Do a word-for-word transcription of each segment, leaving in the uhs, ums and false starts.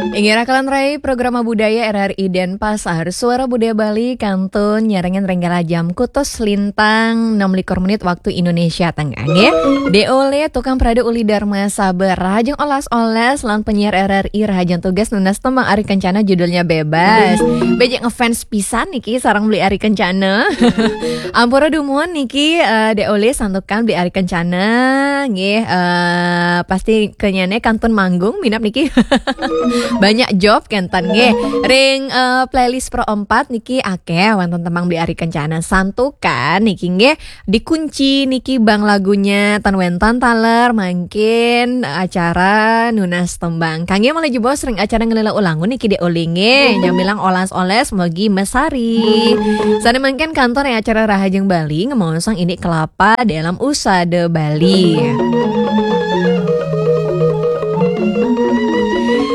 Inggih, Rakalan Rai, Programa Budaya R R I Denpasar, Suara Budaya Bali, kantun nyarengin ring galah jam kutus lintang enam likur menit waktu Indonesia Tengah, nggih. Dék Olé, tukang parade uli Dharma Sabar, rahajeng olas-olas, lan penyiar R R I rahajeng tugas nunas tembang Ari Kencana judulnya Bebas. Béjé ngefans pisan niki sareng Beli Ari Kencana. Ampura dumun niki, eh, Dék Olé santukan Beli Ari Kencana, nggih, eh, pasti kenyané kantun manggung minab niki. Banyak job kenten nggih. Ring, eh, playlist Pro empat niki akéh wénten tembang Beli Ari Kencana. Santukan niki nggih dikunci niki bang lagunya tan wénten taler mangkin acara nunas tembang. Kanggé malih jebos ring acara ngelela ulangun niki Dék Olé nggih. Nyamilang olas-olas mogi mesari. Sané mangkin kantun ring acara Rahajeng Bali ngemaosang indik kelapa dalam usada Bali.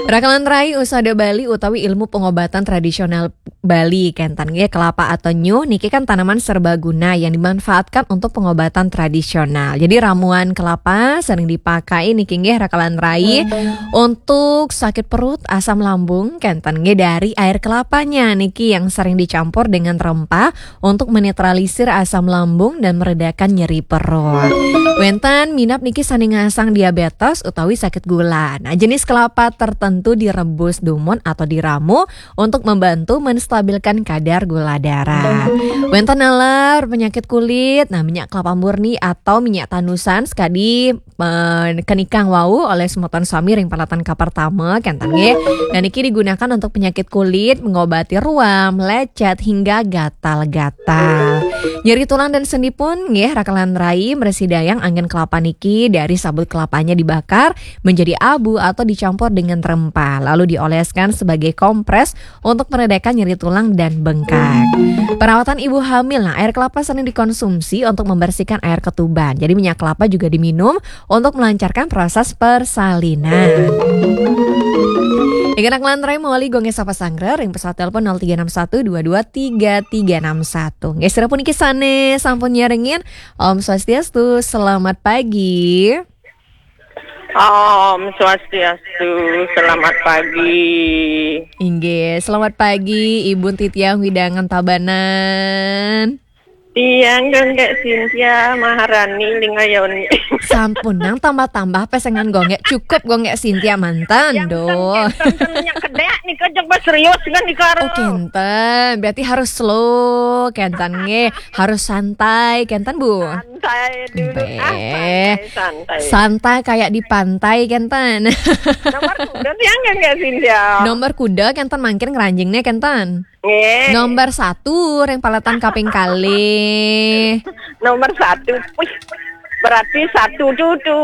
Rakalan Rai, usada Bali utawi ilmu pengobatan tradisional Bali kenten nggih, kelapa atau nyuh niki kan tanaman serbaguna yang dimanfaatkan untuk pengobatan tradisional. Jadi ramuan kelapa sering dipakai niki nggih Rakalan Rai untuk sakit perut, asam lambung kenten nggih, dari air kelapanya niki yang sering dicampur dengan rempah untuk menetralisir asam lambung dan meredakan nyeri perut. Wénten minab niki sané ngasang diabetes utawi sakit gula. Nah, jenis kelapa tertentu direbus dumun atau diramu untuk membantu menstabilkan kadar gula darah. Wénten naler penyakit kulit, nah, minyak kelapa murni atau minyak tanusan sekadi, eh, kenikang wau olih semeton sami ring palatan kapertama kenten nggih. Nah, niki digunakan untuk penyakit kulit, mengobati ruam, lecet hingga gatal-gatal. Nyeri tulang dan sendi pun nggih Rakalan Rai, mresidayang anggén kelapa niki dari sabut kelapanya dibakar menjadi abu atau dicampur dengan rempah lalu dioleskan sebagai kompres untuk meredakan nyeri tulang dan bengkak. Perawatan ibu hamil, nah, air kelapa sering dikonsumsi untuk membersihkan air ketuban. Jadi minyak kelapa juga diminum untuk melancarkan proses persalinan. Inggih Rakalan Rai, mawali Gung Gé sapa sanggra ring pesawat telepon nol tiga enam satu dua dua tiga tiga enam satu. Nggih, sira puniki sané sampun nyarengin. Om Swastiastu, selamat pagi. Om Swastiastu, selamat pagi. Inggih, selamat pagi Ibu titiang wewidangan Tabanan. Tiang Gung Gé Sintia Maharani Lingayoni. Sampun nang tambah-tambah pesengan Gung Gé, cukup Gung Gé Sintia manten, yang doh. Kenten, kenten minyak kedék nika jeng serius kan nika. Oh, kenten. Berarti harus slow, kenten nggih. Harus santai, kenten, Bu. Santai dulu. Bé. Ah, santai, santai. Santai kayak di pantai, kenten. Nomor kuda tiang Gung Gé Sintia. Nomor kuda kenten mangkin ngranjingné kenten. Nggih. Nomor satu ring palatan kaping kalih. Nomor satu. Wih, berarti satu tu, tu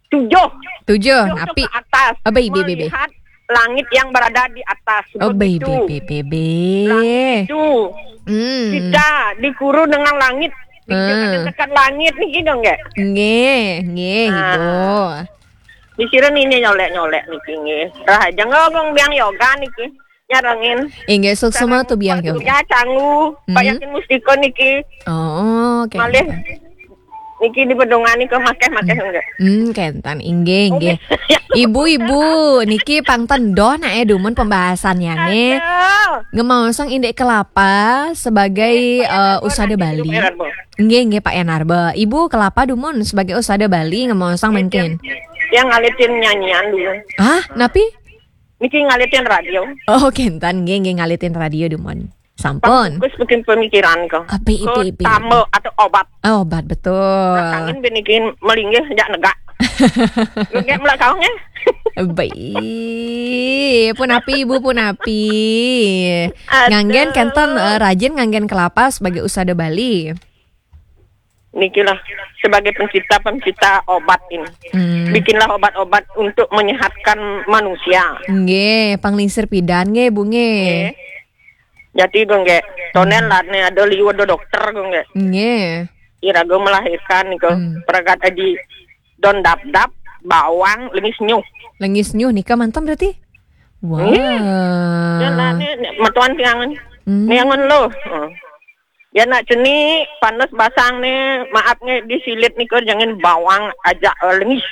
tujuh. Tujuh, tujuh tu napi? Ke atas. Abai, bé, bé, bé. Melihat langit yang berada di atas. Oh, bé, bé, bé, bé, bé. Langit tu. Hmm. Kita dikuru dengan langit. Dikatakan langit nih gitu nggak? Nggih, nggih, nah, Ibu. Di sira niki nyolék-nyolék niki nggih. Rahaja nggih Gung Biang Yoga niki. Nyarengin. Inggih, suksma sareng tu Biang Pak Yoga. Surya Canggu, Pak, hmm, Yakin Mustika niki. Oh, oké. Malih niki di Bedungan nika makéh-makéh nggih. Hmm, kenten, inggih, inggih. Oké. Ibu-ibu, niki pang ten doh naké dumun pembahasannya nggih. Aduh. Ngemaosang indik kelapa sebagai, eh, usada Bali. Nggih, nggih, Pak Yanarba. Ibu, kelapa dumun sebagai usada Bali ngemaosang mangkin. Yang ngalitin nyanyian dulu. Hah, napi? Niki ngalitin radio. Oh, kenten, nggih, nggih, ngalitin radio dumun. Sampun. Terus bikin pemikiran ko. Api, ko ipi, ipi, tamba ipi atau obat. Oh, obat, betul. Nah, kangin binikin melinggih jak negak. Nggih, mulai kaung ya. Bé. Punapi, Ibu, punapi. Aduh. Nganggén kenten, eh, rajin nganggén kelapa sebagai usada Bali. Niki lah, sebagai pencipta-pencipta obat ini. Hmm. Bikinlah obat-obat untuk menyehatkan manusia. Nggih, panglingsir pidan nggih, Bu, nggih. Nggih. Jadi, Gung Gé, tonen, hmm, lah né ada liu ada dokter, Gung Gé. Nggih. Iraga melahirkan nika, hmm, pragat aji don dap-dap, bawang, lengis nyuh. Lengis nyuh nika manten berarti? Wah. Nggih. Dan lah né, né, metuan tiangan. Hmm. Niangan lo. Heeh. Ya nak cenik, panas basang né, maaf nggih, disilit nika jangan bawang ajak, eh, lengis.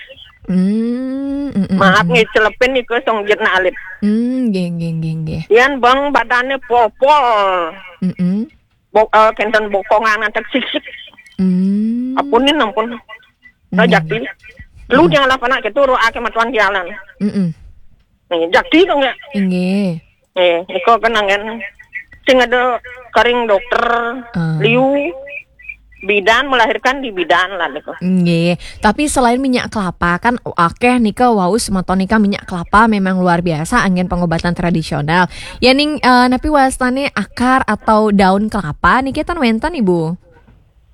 Hmm, mm, mm, Maaf mm. Nggih, celepin niku song jitna alit. Hmm, nggih, nggih, nggih, nggih. Yan bang badane popol. Mm-mm. Bo, eh, kenten bokongan antek sik-sik. Hmm. Ampun nih, ampun. Nah, Nggih, jakti. Lu jangan lah panak gitu, ro ake matuan jalan. Mm-mm. Nih, jakti dong ya. Nggih. Nih, iko kenangan. Sing ada kering dokter Ah. liu bidan, melahirkan di bidan lah niku. Nggih, tapi selain minyak kelapa kan akeh nika wau semeton nika minyak kelapa memang luar biasa anggen pengobatan tradisional. Ya ning eh, napi wastane akar atau daun kelapa niki ten wenten Ibu.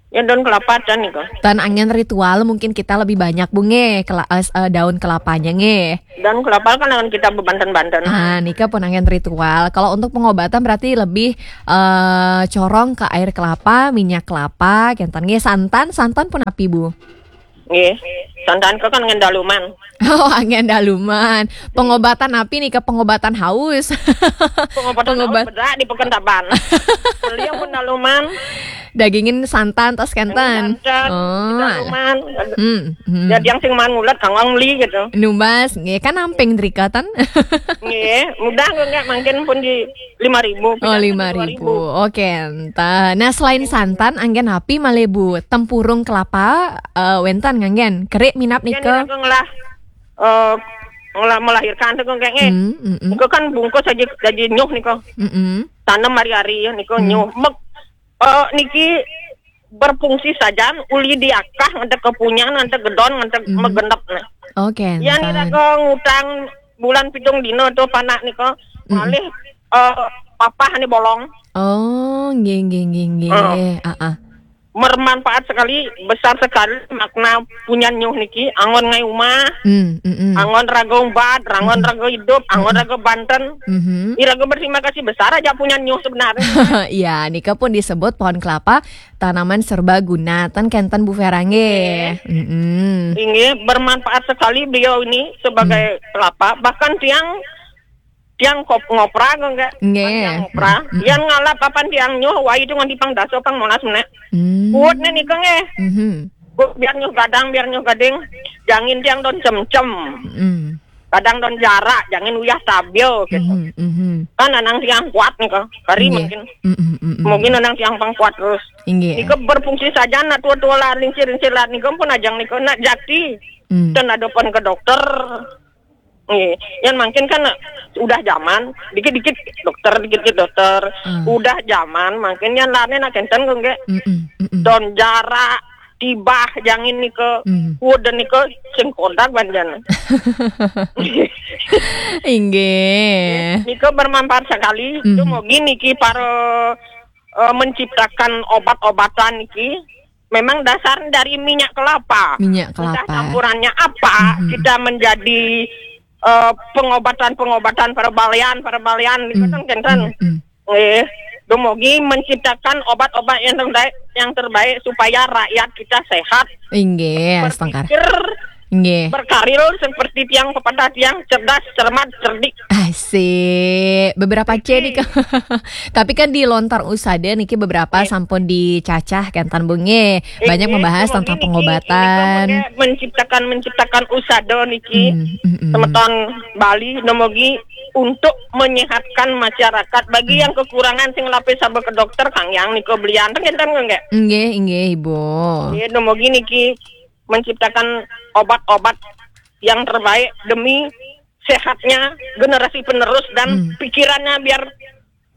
Ya daun kelapa dan niku. Tan anggen ritual mungkin kita lebih banyak Bu nggih kela- eh, eh, daun kelapanya nggih. Daun kelapa kan akan kita bebanten-banten. Ah, nika pun anggen ritual. Kalau untuk pengobatan berarti lebih eh, corong ke air kelapa, minyak kelapa, kenten nggih santan, santan pun api Bu. Nggih. Santan ke kan ngendaluman. Oh, anggen daluman. Pengobatan api nih ke pengobatan haus. Pengobatan Pengobat- haus bedak di Pekanbaru. Beliau pun daluman. Dagingin santan tas kenten. Santan, Oh, alah. daluman. Hmm, hmm. Jadi yang sing man ngulet kang wong beli gitu. Numbas, nggih kan namping drikatan. Nggih, mudah kok nggak mungkin pun di lima ribu. Oh, lima ribu. Oke, entah. Nah, selain santan, anggen api malih Bu, tempurung kelapa eh, wenten nganggen. Kerik minap Yang nika. Nggih ngelah eh ngelah melahirkan tuh kok kayaknya. Hmm, mm, mm, Niku kan bungkus aja gaji nyuh niku. mm, mm. Tanem hari-hari ya niku Hmm. nyuh. Mek eh niki berfungsi saja uli diakah ngantek kepunyan ngantek gedon ngantek Hmm. megenep nih. Oke, Ya nih entah. Raka ngutang bulan pitung dino tuh panak niku Mm. malih eh papah nih bolong. Oh, nggih nggih nggih nggih. Oh. Ah, ah. Bermanfaat sekali, besar sekali makna punya nyuh niki. Anggon ngai umah, Hmm, mm, mm. anggon raga umbat, anggon Mm-mm. raga hidup, anggon Mm-mm. raga banten. Mhm. Iraga berterima kasih besar aja punya nyuh sebenarnya. Ya, nika pun disebut pohon kelapa tanaman serbaguna. Ten kenten Bu Vera nggih. Mm-mm. Ini bermanfaat sekali beliau ini sebagai kelapa. Bahkan tiang tiang kop ngopra kok enggak? Nggih. Tiang ngopra. Mm-mm. Yang ngalap papan tiang nyuh wai itu nganti pang dasa pang molas meneh. Hmm. Kuat nih nika nggih. Mhm. Kuat biar nyuh gadang, biar nyuh gading. Jangin tiang don cem-cem. Mm. Kadang don jarak, jangin uyah tabil gitu. Mhm, mhm. Kan anang tiang kuat nih kok. Kari Nggih. mungkin. Mm, mm, mm, mm. Mungkin anang tiang pang kuat terus. Nggih. Nika berfungsi saja nak tua-tua lah, lincir-lincir lah. Nika pun ajang nika nak jati. Hmm. Dan ada pun ke dokter. Nggih. Yang mungkin kan udah zaman, dikit-dikit dokter, dikit-dikit dokter. Hmm. Udah zaman, mungkin yang lainnya nak kenten kok nggih. Mm, mm, mm, mm. Don jarak, tibah, jangin nika. Hmm. Kuat dan nika sing kodak banjana. Inggih. Nika bermanfaat sekali. Mhm. Itu mau gini ki para eh, menciptakan obat-obatan niki memang dasar dari minyak kelapa. Minyak Entah kelapa. Campurannya apa, Mhm. kita menjadi eh, pengobatan-pengobatan perbalian, perbalian niku Hmm, kan kenten. hmm, hmm. Eh, dumugi menciptakan obat-obat yang terbaik, yang terbaik supaya rakyat kita sehat. Inggih, astungkara. Berpikir, Nggih. berkaril seperti tiang pepatah, tiang cerdas, cermat, cerdik. Asik. Beberapa C nih. Tapi kan di lontar usada niki beberapa Iya. sampun dicacah kenten Bu nggih. Banyak Ini membahas dumugi tentang niki, pengobatan. ini menciptakan menciptakan usada niki. Hmm, hmm, hmm. Semeton Bali dumugi untuk menyehatkan masyarakat bagi Hmm. yang kekurangan sing lapis sabar ke dokter kang yang niku belian ten kenten nggih. Nggih, inggih Ibu. Nggih, dumugi niki menciptakan obat-obat yang terbaik demi sehatnya generasi penerus dan Hmm. pikirannya biar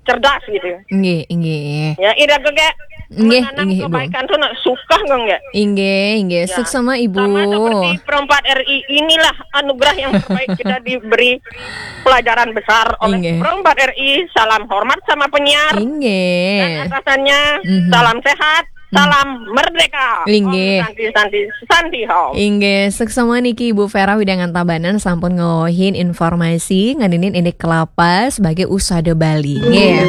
cerdas gitu. Nggih, inggih. Ya, ira ke kayak Nggih, menanam inggih, Ibu. kebaikan tuh nak suka nggak nggak? Inggih, inggih. Ya. Suksema Ibu. Sama seperti Perempat R I, inilah anugerah yang terbaik kita diberi pelajaran besar oleh Inggih. Perempat R I. Salam hormat sama penyiar dan Inggih. atasannya. Mhm. Salam sehat, Hmm. salam merdeka. Inggih. Om Santi, Santi, Santi Hom. Inggih, suksema niki Ibu Vera Widangan Tabanan sampun ngawahin informasi ngeninin indik kelapa sebagai usada Bali. Nggih.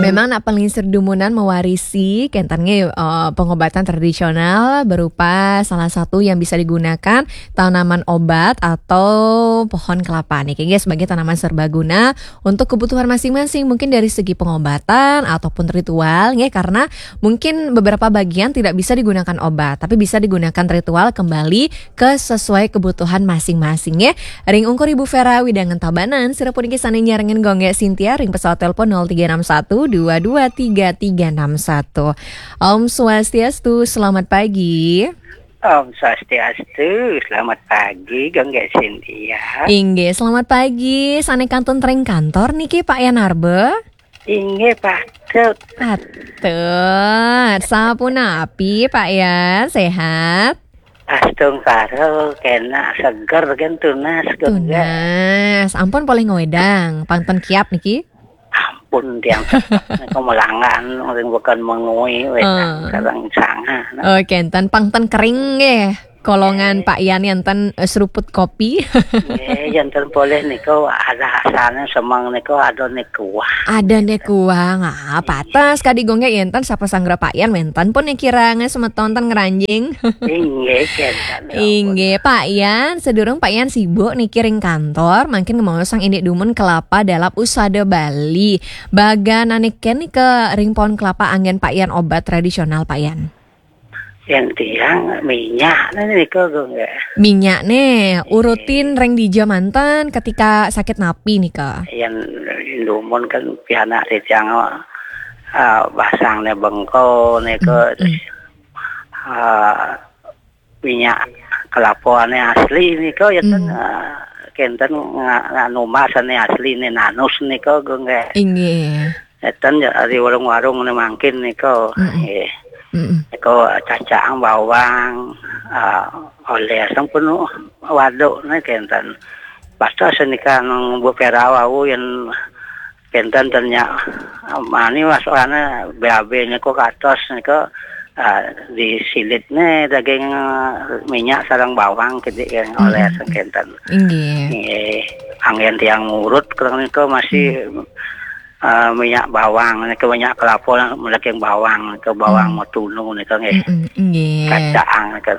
Memang nak pelingsir dumunan mewarisi kenten nggih eh, pengobatan tradisional berupa salah satu yang bisa digunakan tanaman obat atau pohon kelapa niki nggih sebagai tanaman serbaguna untuk kebutuhan masing-masing mungkin dari segi pengobatan ataupun ritual nggih karena mungkin mungkin beberapa bagian tidak bisa digunakan obat, tapi bisa digunakan ritual kembali ke sesuai kebutuhan masing-masing ya. Ring ungkur Ibu Vera widangan Tabanan, sira puniki sané nyarengin Gonggé Sintia ring pesawat telepon nol tiga enam satu dua dua tiga tiga enam satu. Om Swastiastu, selamat pagi. Om Swastiastu, selamat pagi, Gonggé Sintia. Inggih, selamat pagi. Sané kantun ring kantor niki, Pak Yan Arbe? Inggih, patut. Patut. Sapunapi, Pak Yan? Sehat? Astungkara, kenak, seger, kan tunas, Gonggé. Tunas. Ampun polih ngwedang, pang ten kiap niki? Ampun, tiang tetep nika melanggan, ring bukan mengui, wedang, sareng sanga. Oh, kénten, pang ten kering nggih. Kolongan Pak Yan, enten, eh, seruput kopi. Nggih, enten polih nika ada asalnya semeng nika ada nika wah. Ada nika wah. Ah, patas kadi Gonggé, enten sapa sanggra Pak Yan, wenten pun niki kirang semeton ten ngranjing. Inggih, kénten. Inggih, Pak Yan, sedurung Pak Yan sibuk niki ring kantor, mangkin ngemaosang indik dumun kelapa dalap usada Bali. Baganane ken nika ring pohon kelapa anggén Pak Yan obat tradisional, Pak Yan? Yang tiang minyak nika, Gonggé. Minyak ne urutin ring dija manten ketika sakit napi nika? Yang dumun kan pianak titiang, ah, basang ne bengko nika, ah, minyak kelapa ane asli nika, ya kan, ah, kenten nga-, nga-, numbas ane asli ne, nanus nika, Gonggé. Inggih. Enten ya, di warung-warung ne mangkin nika. Nggih. Nika cacahang bawang, ah, oleh sampun waduk ne kenten. Patas nika nang Bu Vera wau yen kenten ten nyak mani wasane B A B nika katos nika, ah, disilitne daging, ah, minyak sareng bawang kidik yang oleh kenten. Inggih. Nggih. Anggen tiang ngurut kereng nika masih, ah, minyak bawang nika, minyak kelapa lah, daging bawang nika, bawang matunu nika nggih. Mm-mm, nggih. Kacang nika.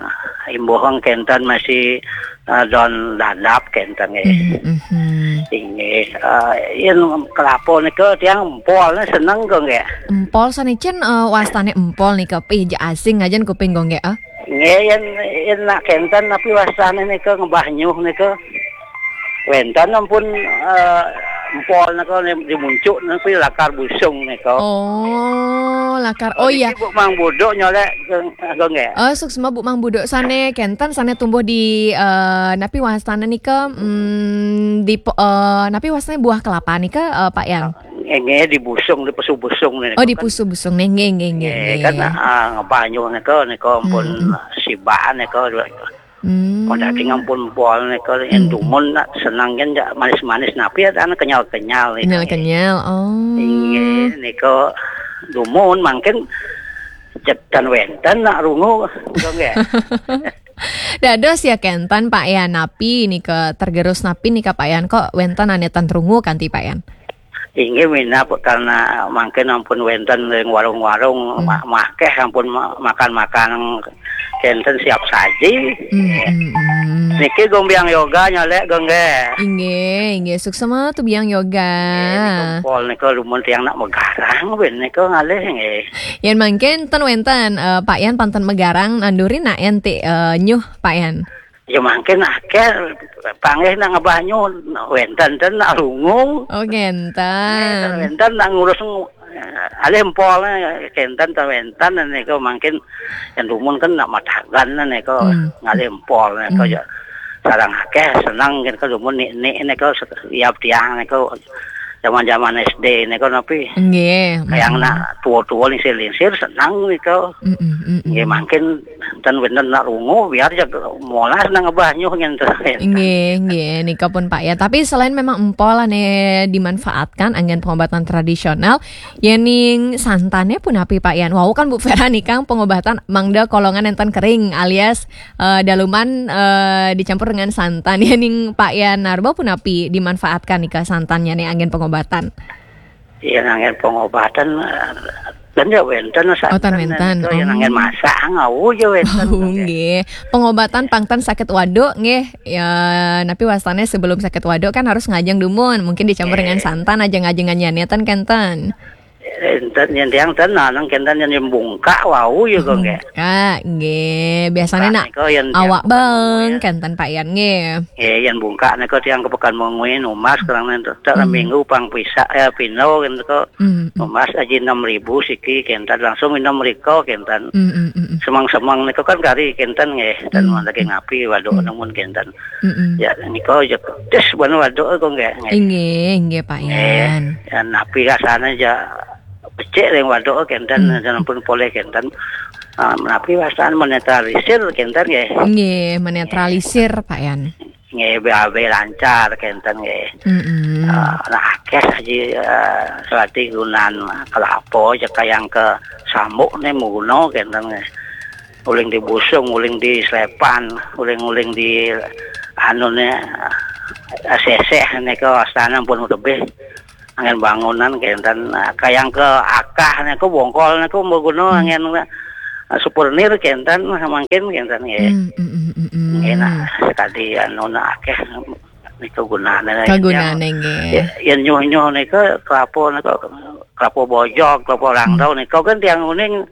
Imbuhang kenten masih, ah, don dadap kenten nggih. Mm-mm. Inggih, ah, yen kelapa nika tiang empol seneng kok nggih. Empol sane cen, eh, wastane empol nika pih ja asing ajen kuping kok nggih, ah. Nggih, yen, yen nak kenten tapi wastane nika ngebah nyuh nika. Wenten ampun, eh, empol nika ne, di muncuk niku lakar busung nika. Oh, lakar. Oh, iya. Niki Bu Mang Buduk nyolek ke, ke nggih. Oh, suksma Bu Mang Buduk sane kenten sane tumbuh di, eh, napi wastane nika, mm, di po-, eh, napi wastane buah kelapa nika, eh, Pak Yan? Nggih, di busung, di pesu busung nika. Oh, di pesu busung nih, nggih, nggih, nggih, nggih, kan, nggih. Ah, ngebah nyuh nika, nika ampun sibaan nika. Hmm. Daging ampun empol nika, yen dumun nak seneng kan jak manis-manis, napi ya, anu kenyal-kenyal nika. Kenyal-kenyal, oh. Inggih, nika dumun mangkin cetan wenten nak rungu, nika nggih. Dados ya kenten Pak Yan, napi nika tergerus napi nika Pak Yan, kok wenten ane ten rungu kanti Pak Yan? Inggih minab karena mangkin ampun wenten ring warung-warung, ma-, makeh ampun ma-, makan-makan kenten siap saji. Hmm, hmm, hmm. Niki Gombiang Yoga nyolek, Gonggé. Inggih, inggih. Suksma tu Biang Yoga. Nggih, nika empol nika dumun tiang nak megarang ben nika ngalih nggih. Yan mangkin ten wenten, eh, Pak Yan panten megarang nandurin nak ente, eh, nyuh Pak Yan. Ya mangkin akeh panggih nak ngebah nyuh, wenten ten nak rungu. Oh, kenten. Nggih, ten wenten nak ngurus ng-, alih empol, kenten ten wenten nika mangkin yang dumun kan nak matagan nika ngalih empol nika ya. Sarang akeh seneng nika dumun nik-nik nika se-, iap tiang nika zaman-zaman S D nika napi. Nggih. Kayang nak tua-tua lingsir-lingsir seneng nika. Mm-mm, mm-mm. Nggih mangkin ten wenten nak rungu biar jak molas nang ngebah nyuh ngenten. Nggih, nggih, nika pun Pak ya. Tapi selain memang empol ane dimanfaatkan anggen pengobatan tradisional, yening santane punapi Pak Yan? Wau kan Bu Vera nika pengobatan mangda kolongan enten kering alias, eh, daluman, eh, dicampur dengan santan. Yening Pak Yan Narba punapi dimanfaatkan nika santannya nih anggen pengobatan? Iya, nanggen pengobatan, eh, kan ya wenten. Oh, tan santen wenten. Niku ya nanggen masak, ngau ya wenten. Oh, nggih. Pengobatan pangten sakit waduk nggih. Ya, napi wastane sebelum sakit waduk kan harus ngajeng dumun. Mungkin dicampur dengan santan, ajeng-ajengan nyaniatan kenten. Enten, yen tiang ten nanang kenten yen bungkak wau ya kok nggih. Bungkak, nggih. Biasanya nak nika yen tiang awak beng kenten Pak Yan nggih. Nggih, yen bungkak nika tiang ke Pekan Mengwi numas kerana tak minggu pang pisak, eh, pino kenten kok. Hmm, hmm. Numas aji enam ribu siki kenten langsung enam riko kenten. Hmm, hmm, hmm, hmm. Semang-semang nika kan kari kenten nggih, dan lagi ngapi waduk namun kenten. Mm-mm. Ya, nika ya pedes bana waduk kok nggih. Inggih, inggih, Pak Yan. Ya, napi rasane ya becik ring waduk kenten, hmm, dan pun polih kenten. Ah, napi rasane menetralisir kenten nggih. Inggih, menetralisir, Pak Yan. Nggih, B A B lancar kenten nggih. Mm-mm. Ah, nah, akeh saji, eh, selati gunan kelapa je kayang ke sambuk ne muguno kenten nggih. Uling di busung, uling di slepan, uling-uling di anu ne, eh, seseh nika wastane pun tebih. Angin bangunan kenten, eh, kayang ke akah niku bongkol niku maguna angin, eh, supernir kenten mangkin kenten nggih. Hmm, hmm, hmm, hmm, hmm. Nggih, nah, sekadi anu nah akeh niku gunane. Kagunane nggih. Ya, yen nyuh-nyuh nika kelapa nika kelapa bojog, kelapa rangdau nika kan tiang uning,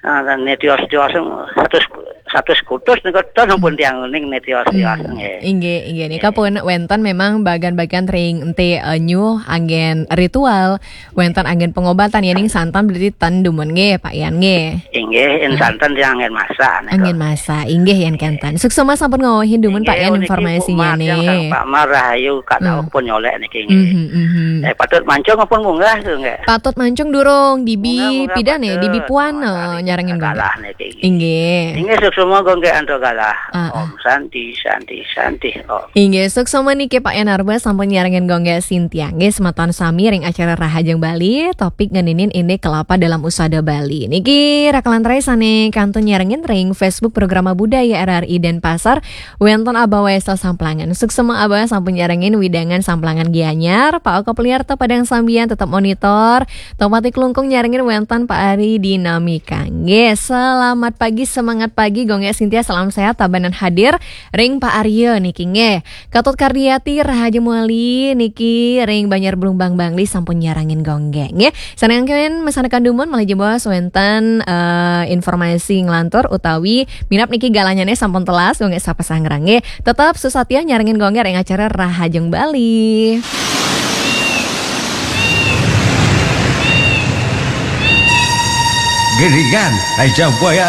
ah, netios-tios satus, satus kutus nika ten pun tiang uning netios-tios nggih. Inggih, inggih. Nika pun wenten memang bagan-bagan ring enti, eh, nyuh anggen ritual, wenten anggen pengobatan ya ning santan berarti ten dumun nggih, Pak Yan nggih. Inggih, yen santen tiang anggen masak nika. Anggen masak, inggih yen kenten. Suksma sampun ngawehin dumun Pak Yan informasinya nih. Pak Mar rahayu Kak Daud pun nyolek niki nggih. Mhm, mhm. Eh, patut mancung pun munggah tu nggih. Patut mancung durung dibi pidan nih, dibi puan nyarengin galah niki. Inggih. Inggih, suksma gong nggih antuk galah. Ah, ah. Om Santi, Santi, Santi, Om. Inggih, suksma niki Pak Yan Arba sampun nyarengin gong nggih Sintia. Nggih, semeton sami ring acara Rahajeng Bali, topik ngeninin indik kelapa dalam usada Bali. Niki rakelan rai sane kantun nyarengin ring Facebook Programa Budaya R R I Denpasar, wenten Abah Waisel Samplangan. Suksma Abah sampun nyarengin wewidangan Samplangan Gianyar, Pak Oko Pliarto Padang Sambian tetep monitor, Topati Klungkung nyarengin wenten Pak Ari Dinamika. Nggih, selamat pagi, semangat pagi, gong nggih Sintia, salam sehat, tabanan hadir ring Pak Arya niki nggih. Ketut Kardiati, Rahaja Muali niki ring Banjar Blumbang Bangli sampun nyarengin gong nggih. Nggih, saneangken mesanekan dumun malih jebos wenten, eh, informasi nglantur utawi minab niki galahnyane sampun telas gong nggih sapa sangrang nggih. Tetep susatya nyarengin gong nggih ring acara Rahajeng Bali. Geringan, Raja Boya